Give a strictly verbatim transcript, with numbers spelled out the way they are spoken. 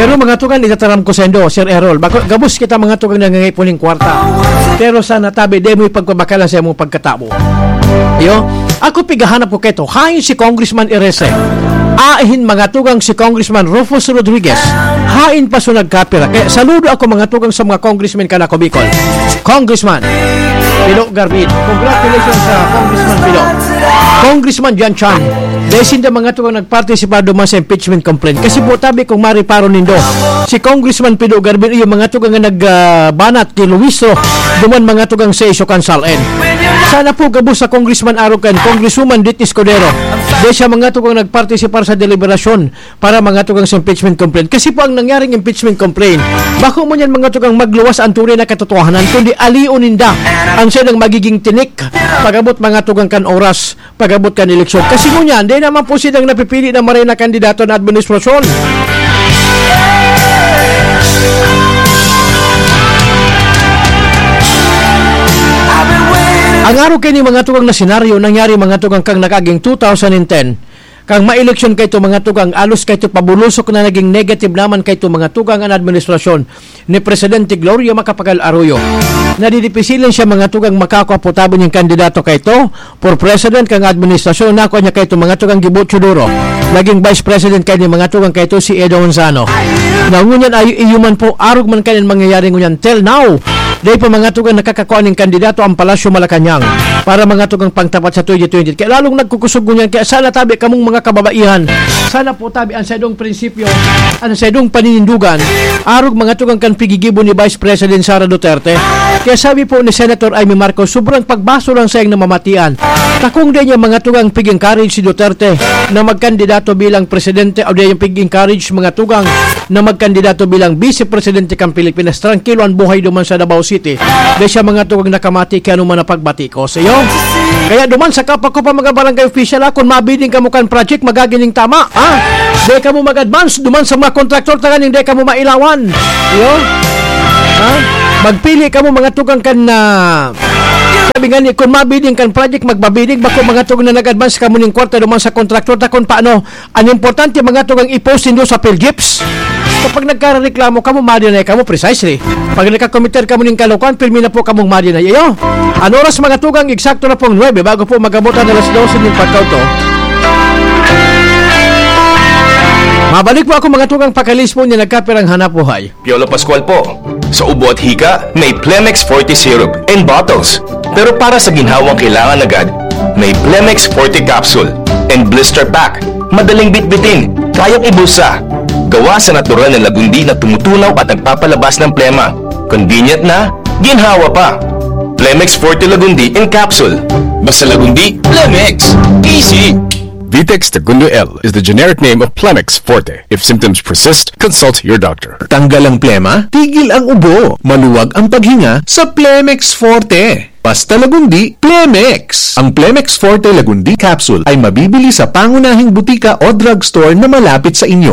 Pero mga tugang, itataram ko saindo, Sir Errol, bako, gabos kita mga tugang nangangaipo ning kwarta. Pero sana tabi, di mo ipagpabakalan sa imong pagkatawo. Iyo, ako pigahanap ko keto, hain si Congressman Erese. Ahin mga tugang si Congressman Rufus Rodriguez. Hain pa so nagkapira. Kaya saludo ako mga tugang sa mga congressmen kan ako Bicol. Congressman Pilo Garbin. Congratulations sa Congressman Pilo. Congressman Jan Chan. Dahil sinda mga tugang nagpartisipar duman sa impeachment complaint. Kasi po tabi kung mariparo nindo, si Congressman Pilo Garbin iyo mga tugang nga nagbanat kay Luis Ro, duman mga tugang sa Isokan Sal-en. Sana po gabos sa Congressman Arocan, Congresswoman Dit Escudero. Dahil siya mga tugang nagpartisipar sa deliberasyon para mga tugang sa impeachment complaint. Kasi po ang nangyaring impeachment complaint, bako mo niyan mga tugang magluwas ang tunay na katotohanan, kundi alion ninda ang siya nang magiging tinik pag-abot mga tugang kan oras, pag-abot kan eleksyon. Kasi ngunyan, di naman po silang napipili na maray na kandidato na administrasyon. Ang araw kaini mga tugang na senaryo, nangyari mga tugang kang nag-aging two thousand and ten. Kang maeleksyon kaito mga tugang, alos kaito pabulusok na naging negative naman kaito mga tugang an administrasyon ni Presidente Gloria Macapagal Arroyo. Nadidipisilan siya mga tugang makakua po tabi nin kandidato kaito for president kang administrasyon, nakua niya kaito mga tugang gibutyo duro. Naging vice president kaini mga tugang kaito si Edo Manzano. Na ngunyan ay iyo man po, arog man kanin mangyayari ngunyan till now. Dai pa mga tugang nakakakua nin kandidato ang Palasyo Malacañang para mga tugang pangtapat sa twenty twenty. Kaya lalong nagkukusog ngunyan. Kaya sana tabi kamong mga kababaihan. Sana po tabi ang saidong prinsipyo, ang saidong paninindugan, arog mga tugang kan pigigibo ni Vice President Sara Duterte. Kaya sabi po ni Senator Imee Marcos, sobrang pagbaso lang sa iyang namamatian. Takong dai niya mga tugang pig-encourage si Duterte na magkandidato bilang presidente o dai niya pig-encourage mga tugang na magkandidato bilang vice presidente kan Pilipinas. Trangkilo ang buhay duman sa Davao City. Dai siya mga tugang nakamati kay ano man ang pagbati ko sa iyo. Kaya duman sa kapwa ko pa mga barangay official, ha, kung mabiding kamo kan project, magagining tama, ha? Dai kamo mag-advance duman sa mga kontraktor, tanganing dai kamo mailawan. Iyo? Ha? Magpili kamo mga tugang kan na sabi nga ni, kung mabiding kan project, magbabidding. Bako mga tugang na nag-advance kamo ning kwarta duman sa kontraktor, ta kung paano, ang importante mga tugang i-post nindo sa PhilGIPS. Kapag nagkareklamo kamo, ma-deny kamo precisely. Pag nagkakomiter kamo ning kalokohan, pirmi na po kamong ma-deny. Iyo, ang oras mga tugang, eksakto na pong nuebe bago po mag-abot ang alas dose ning pagkauto. Mabalik po ako mga tugang, pakalis po niya nagkapirang hanap buhay. Piolo Pascual po. Sa ubo at hika, may Plemex Forte Syrup in bottles. Pero para sa ginhawang kailangan agad, may Plemex Forte Capsule and Blister Pack. Madaling bitbitin, kayang ibulsa. Gawa sa natural na lagundi na tumutunaw at nagpapalabas ng plema. Convenient na, ginhawa pa. Plemex Forte Lagundi in Capsule. Basta Lagundi, Plemex. Easy. Vitex Segundo L is the generic name of Plemex Forte. If symptoms persist, consult your doctor. Tanggal ang plema, tigil ang ubo, maluwag ang paghinga sa Plemex Forte. Basta Lagundi, Plemex! Ang Plemex Forte Lagundi Capsule ay mabibili sa pangunahing butika o drugstore na malapit sa inyo.